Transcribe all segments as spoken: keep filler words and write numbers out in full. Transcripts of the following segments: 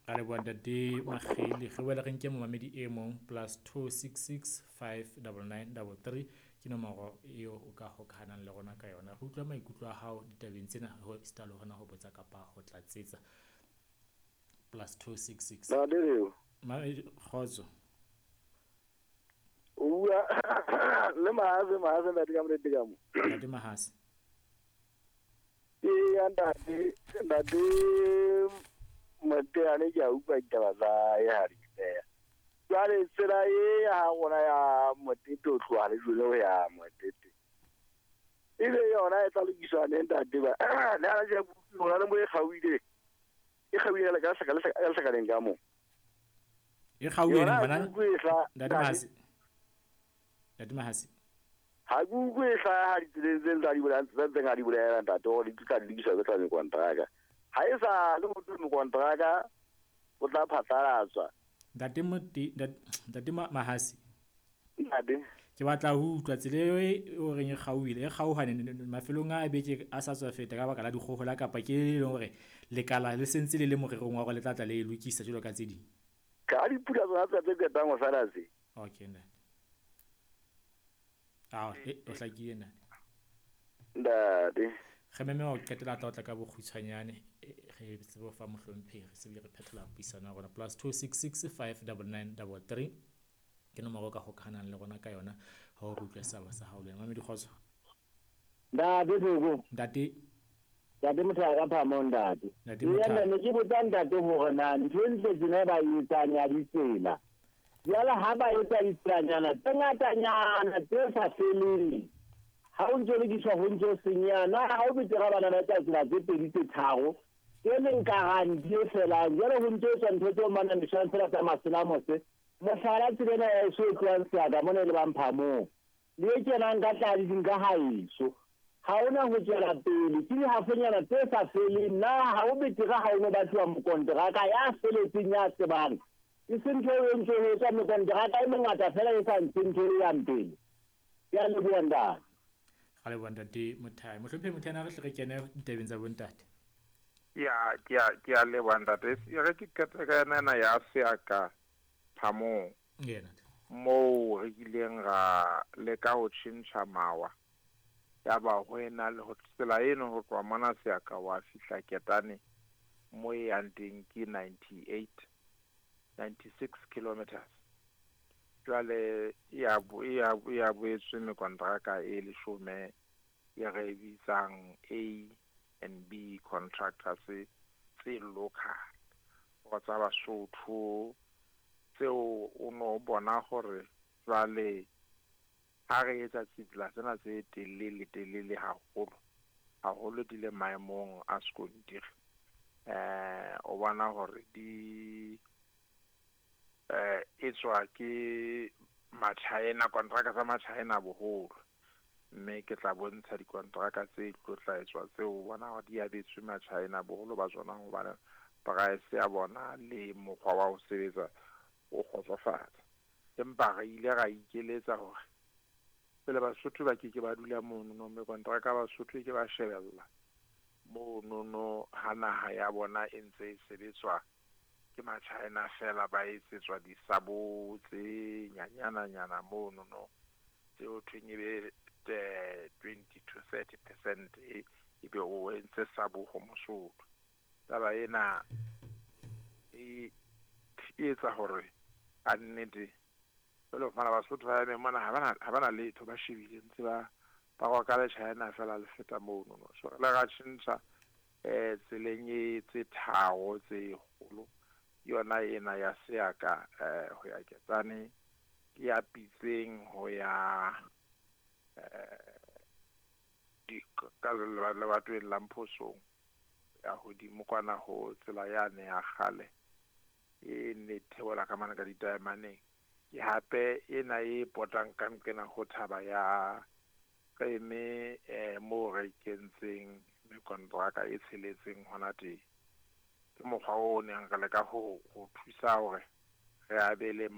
Ra leboha ntate Makgele. Re boele re nke momamedi e mong plus two six six five double nine double three ke nomoro eo o ka hokahanang le rona ka yona. Re utlwa maikutlo a hao ditabeng tsena ho esita le hona ho botsa kapa ho tlatsetsa. Plus two six six. Ntate Leo. Kgotso. O bua le Mahase, Mahase ntate ka morete ka mo. Ntate Mahase. Ee, ntate, ntate Moteane ke a utlwa ditaba tsa hae ha di beha. Jwale tsela e ya ha rona ya Motete ho tloha Lejwele ho ya Motete. Ebe yona e tla lokiswa neng ntate ba? Le ha je hona le mo e kgauhile. E kgauhile le ka seka le seka le sekaleng ka mo. E kgauhile bana. Ntate Mahase. Ntate Mahase. Ha ke utlwe e hlaha ha ditseleng tse tsa di bolela tse ntseng a di bolela ntate hore di tla lokiswa ke tla mekontraka. Ha e sa le motho mekontraka o tla phatlalatswa. Ntate Mote ntate Mahase. Ntate. Ke batla ho utlwa tsela eo e o reng e kgauhile e kgauhane mafelong a beke a sa tswa feta ka baka la dikgohola kapa ke e leng hore lekala le sentse le le morerong wa hore le tla tla le e lokisa jwalo ka tse ding. Ka dipula tsona tsa tse qetang ho sala tse. Okay ntate. Ah, e o hlakile ntate. Ntate. Re meme wa ho qetela tla otla ka bokgutshwanyane re tsebe ho fa mohlomphehi re se re phethela puisano ya rona plus two six six five double nine double three ke nomoro ka hokahanang le rona ka yona ha o utlwe saba sa hao le wena Mamedi Kgotso. Ntate Thoko. Ntate. Ntate Motho ka phamo ntate. Ntate Motho. Ne ke botsa ntate hore na ntho e ntle tsena ba e etsang ya ditsela. Jwale ha ba etsa ditselanyana tse ngatanyana tse sa feleng. Ha o ntse lokiswa ho ntse senyeha na ha o betere bana ba etsa tsela tse pedi tse tharo e leng garanti e felang. Jwale ho ntse etswa ntho tseo manamiswang fela tsa maselamose. Mohlala tsela ena ya eso e tlohang Seaka mona e lebang Phamong le e kenang ka tladising ka haeso ha ona ho tswela pele ke dihafonyana tse sa feleng. Na ha o betere ha o no batluwa mokonteraka ya feletseng ya tsebang e se ntho e ntse ho etswa mekonteraka e mengata fela e sa ntshe ntho e yang pele. Ke a leboha ntate. Ra leboha ntate Mothai. Mohlomphehi Mothai, na re hle re kene ditabeng tsa bontate. Ya, ke a ke a leboha ntate. E re ke qete ka yona ena ya Seaka Phamong. Yena. Moo re kileng ra leka ho tjhentjha mawa. Ya ba ho ena le ho tsela eno ho tloha mona Seaka wa fihla Ketane mo e yang teng ke ninety-eight ninety-six kilometers. Jwale ya bo ya ya boetswe mekontraka e leshome e re bitsang A and B contractors tse local go tsa Basotho tseo o no bona hore jwale ha re etsa tsela tsena tse telele telele haholo haholo di le maemong a sekontiri eh o bona hore di eh etswa ke Machina kontraka tsa Machina boholo mme ke tla bontsha dikontraka tse tlo tla etswa tseo bona hore di abetswe Machina boholo ba tsona hobane price ya bona le mokgwa wa ho sebetsa o kgotsofatsa. Empa re ile ra ikeletsa hore pele Basotho ba ke ke ba dula mono no mme kontraka Basotho ke ba shebella mono no ha naha ya bona e ntse e sebetswa ke Machina fela ba etsetswa disabo tse nyanyana nyana mono no tseo thweng e be twenty to thirty percent e be o entse sabo ho Mosotho. Taba ena e etsa hore a nnete jwale fana Basotho ba eme mona ha bana ha bana letho ba shebile ntse ba ba roka le China fela le feta mono no. So le ra tjhentjha eh tseleng e tse tharo tse kgolo yona ena ya Seaka eh ho ya Ketane ke ya Pitseng ho ya eh di ka lebatoweng la Mphosong ya hodimo kwana ho tsela yane ya kgale e ne theola ka mane ka ditaemaneng. Ke hape ena e potang ka nqena ho thaba ya Qeme eh mo re kentseng mekontraka e tsheletseng hona teng. Ke mokgwa o neng re leka ho ho thusa hore re abele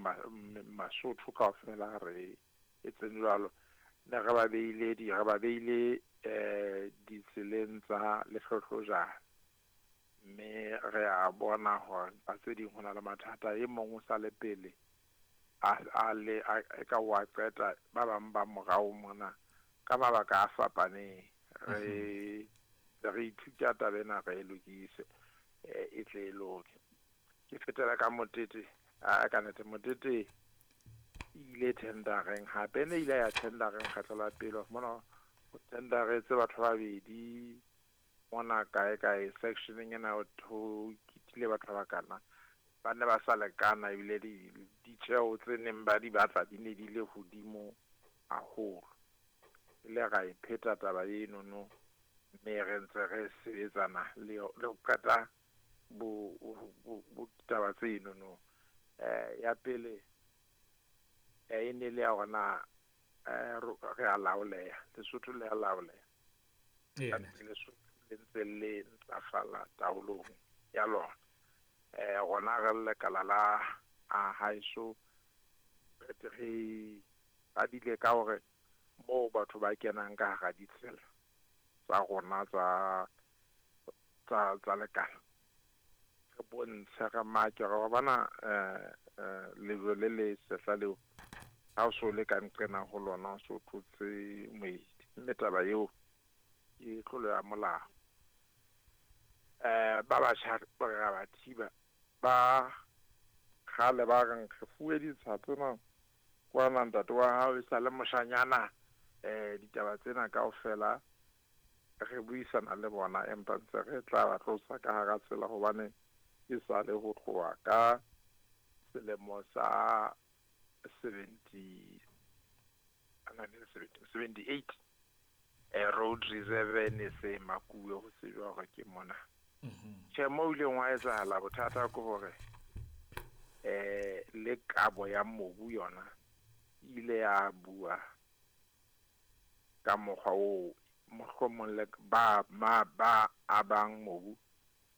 Masotho kaofela re etseng jwalo. Ne re ba beile di re ba beile eh ditseleng tsa Lehlohlojane Mme re a bona hore ba tse ding ho na le mathata e mong o sa le pele a a le a ka wa qeta ba bang ba morao mona ka mabaka a fapaneng. Re re ithuta taba ena re e lokise e tle e loke. Ke fetela ka Motete a ka nete Motete ile tendereng hape ne ile ya tendereng kgetlo la pele mona ho tenderetse batho ba babedi mona kae kae sectioneng ena ho kitile batho ba kana ba ne ba sa lekana ebile di ditjeo tse neng ba di batla di ne di le hodimo haholo. Ile ra e pheta taba eno no mme re ntse re sebetsana le le ho qeta bo bo taba tseno no. Eh ya pele e ne le ya hona eh re a laoleha Lesotho le a laoleha Lesotho le ntse le ntlafala taolong ya lona. Eh rona re lekala la a haeso re badile ka hore moo batho ba kenang ka hara ditsela tsa rona tsa tsa tsa lekala re bontshe re make re bona eh lejwe le le sehla leo ha o so le ka nqena ho lona o so tlotse moedi mme taba eo ke tlolo ya molao. Eh ba batjha ba re ba thiba ba kgale ba reng re fuwe ditsha tsena kwana ntate wa hao e sa le moshanyana eh ditaba tsena kaofela re buisana le bona empa ntse re tla ba tlosa ka hara tsela hobane e sa le ho tloha ka selemo sa seventy seventy-eight eh road reserve ne se makuwe ho tsejwa hore ke mona. Tjhe mo ileng wa etsahala bothata ke hore eh le kabo ya mobu yona ile ya bua ka mokgwa oo mohlomong le ba ma ba abang mobu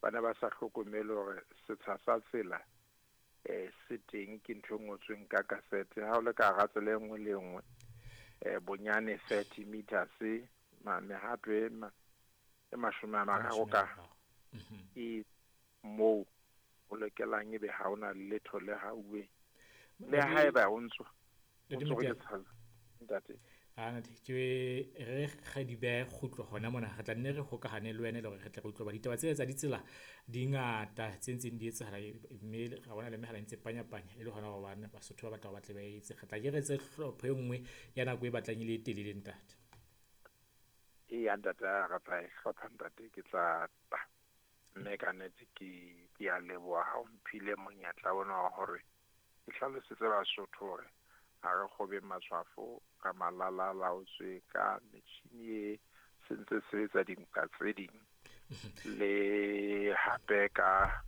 ba ne ba sa hlokomele hore setsha sa tsela eh se teng ke ntho e ngotsweng ka kasete ha o le ka hara tsela e nngwe le nngwe eh bonyane thirty meters ma mehato e e mashome a mararo ka e moo o lokelang ebe ha ona letho le hauwe le haeba o ntso ntate a ke re kgadibe kgutlo hona mona re tla nne re hokahane le wena le hore re tle re utlwe ba ditaba tse tsa ditsela di ngata tse ntseng di etsahala mme ra bona le mehala e ntse panyapanya e le hona hobane Basotho ba batla ba batle ba etse re tla ke re tse hlopho e nngwe ya nako e batlang e le telele ntate. E ya ntate re tla e hlopha ntate ke tla mme ka nnete ke ke a leboha ha o mphile monyetla ona wa hore ke hlalosetse Basotho hore ha re kgobe matshwafo ka malala laotswe ka metjhini e sentse sebetsa dinka tse ding le hape ka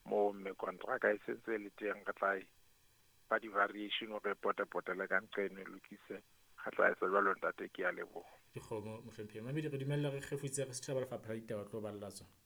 mo me kontraka e sentse le teng re tla ba di-variation re potapotele ka nqeno lokise re tla etsa jwalo ntate ke a leboha. Dikgomo mohlomphehi Mamedi re dumella re kgefutse re setjhaba lefapha la ditaba tlo balla tsona.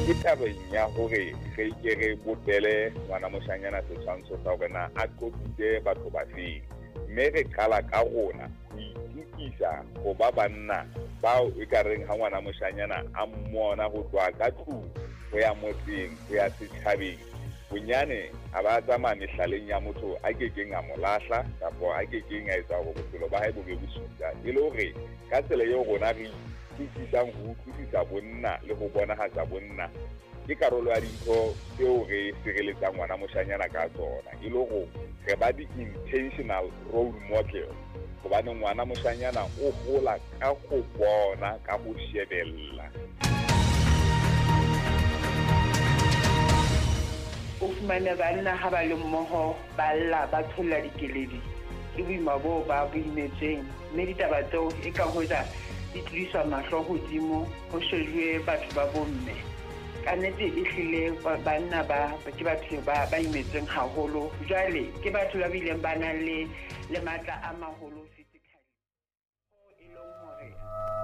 Ke tabeng ya hore re ke re bopele ngwana moshanyana setshwantsho sa hore na a qobitse batho ba feng mme re qala ka rona ho itukisa ho ba banna bao e ka reng ha ngwana moshanyana a mmona ho tloha ka tlung ho ya motseng ho ya setjhabeng bonyane a ba tsamaya mehlaleng ya motho a kekeng a mo lahla kapa a kekeng a etsa hore bophelo ba hae bo be bosula e le hore ka tsela eo rona re utlwisisang ho utlwisisa bonna le ho bonahatsa bonna ke karolo ya dintho tseo re sireletsang ngwana moshanyana ka tsona e le hore re ba di-intentional role model hobane ngwana moshanyana o hola ka ho bona ka ho shebella. O fumane banna ha ba le mmoho ba lla ba tsholla dikeledi ke boima boo ba bo imetseng mme ditaba tseo e ka hoja di tlodiswa mahlo hodimo ho shejuwe batho ba bomme. Ka nnete e hlile banna ba ke batho ba ba imetseng haholo jwale ke batho ba bileng ba nang le le matla a maholo.